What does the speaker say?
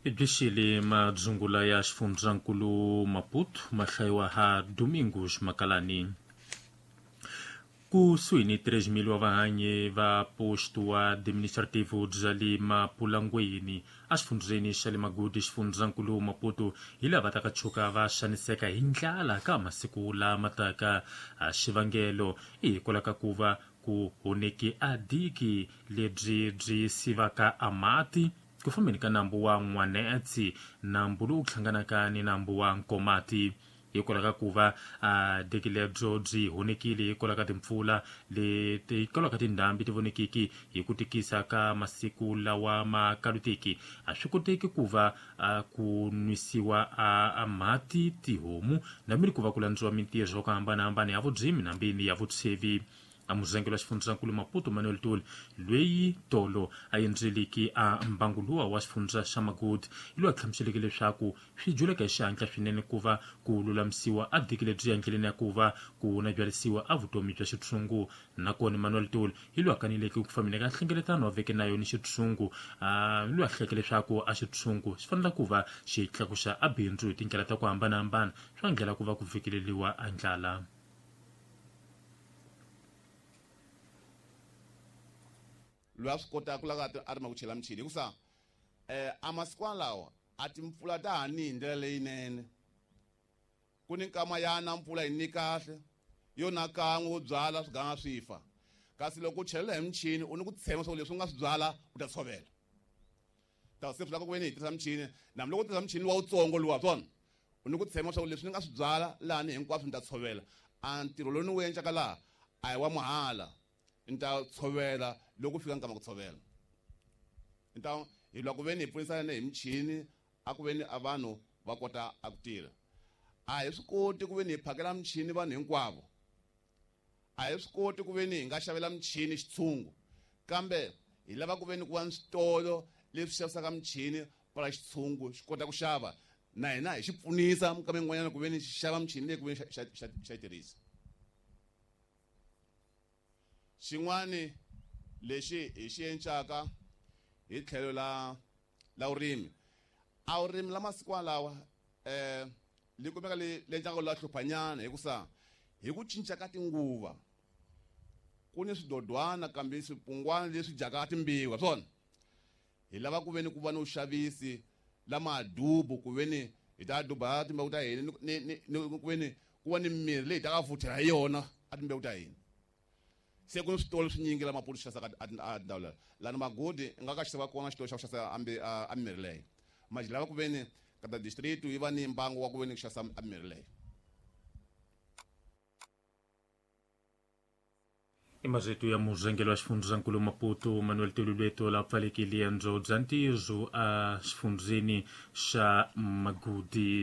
Ibixile madzungula ya xifundzankulu Maputo mahlayiwa ha Domingos Makalani. Kusuhi ni 3.000 wa vahanyi va posto wa administrativo bya le Mapulangweni exifundzheni xa le Magodi xifundzankulu Maputo hi lava taka tshuka va xaniseka hi ndlala ka masiku lama taka. Xivangelo i hikwalaho ka ku va ku honeke a diki lebyi byi sivaka a mati ku fambeni ka nambu wa N'wanetsi, nambu lowu hlanganaka ni nambu wa Nkomati. Hikwalaho ka ku va a diki lebyo byi honekile hikwalaho ka timpfula leti hikwalaho ka tindhambi ti vonekiki hi ku tikisa ka masiku lawa ma kalutiki, a swi koteki ku va ku nwisiwa a mati tihomu nambi ku va ku landziwa mintirho ku hambanahambana ya vudzimi nambini ya vutshevi. A muzengelo wa xifundzankulu Maputo Manuel Tuli lweyi tolo a endzeliki a mbanguluwa wa xifundza xa Magodi hi loyi a hlamuseleke leswaku swi juleka hi xihatla swinene ku va ku lulamisiwa a diki lebyi ya endleleni ya ku va ku nabyarisiwa a vutomi bya xitshungu. Nakona Manuel Tuli hi loyi a kaneleke ku fambeni ka nhlengeletano wa veke na yona xitshungu, loyi a hleke leswaku a xitshungu xi fanele ku va xi tlakuxa a bindzu hi tindlela ta ku hambanahambana swa ndlela ku va ku vhikeleliwa a ndlala. Loyi a swi kotaka ku lava a rima ku chela michini hikusa a masikwana lawa a timpfula ta ha ni hi ndlela leyinene. Ku ni nkama ya na mpfula yi ni kahle yo na kan'we wo byala swi ganga swi fa, kasi loko u chelela hi michini u ni ku tshemba swa ku leswi u nga swi byala u ta tshovela. Ta se swi lava ku veni hi tirhisa michini, nambi loko u tirhisa michini luwa wutsongo luwa swona u ni ku tshemba swa ku leswi ni nga swi byala lahani hinkwaswo ni ta tshovela. A ntirho lowu ni wu endlaka laha a hi wa mahala, ni ta tshovela loko fika nkama ku tshovela. Ni ta hi lwa ku veni hi pfunisana hi michini a ku veni a vanhu va kota a ku tirha. A hi swi koti ku veni hi phakela michini vanhu hinkwavo, a hi swi koti ku veni hi nga xavela michini xitshungu, kambe hi lava ku veni ku va ni switolo leswi xavisaka michini pala xitshungu xi kota ku xava, na hina hi xi pfunisa minkama yin'wanyana ku veni xi xava michini leyi ku veni xa yi tirhisa. Xin'wani lexi hi xi encaka hi tlhelo la vurimi, a vurimi la masiku lawa li kumeka li endlaka la hluphanyana hikusa hi ku cinca ka tinguva ku ni swidodwana kambe swipungwana leswi dyaka timbiwa swona. Hi lava ku veni ku va ni vuxavisi la madubu ku veni hi ta duba timbewu ta hina ni ku veni ku va ni mirhi leyi hi ta ka futhela hi yona a timbewu ta hina. Se ku ni switolo swinyingi la Maputo xi xavisaka a tindhawu lera lani Magodi i nga ka xava kona xitolo xa ku xavisa a mirhi leyo. Manje lava ku veni ka ta district yi va ni mbangu wa ku veni ku xavisa a mirhi leyo. I marito ya murhangeri wa xifundzankulu Maputo Manuel Tolulweto la pfalekile endzo bya ntirho a xifundzeni xa Magodi.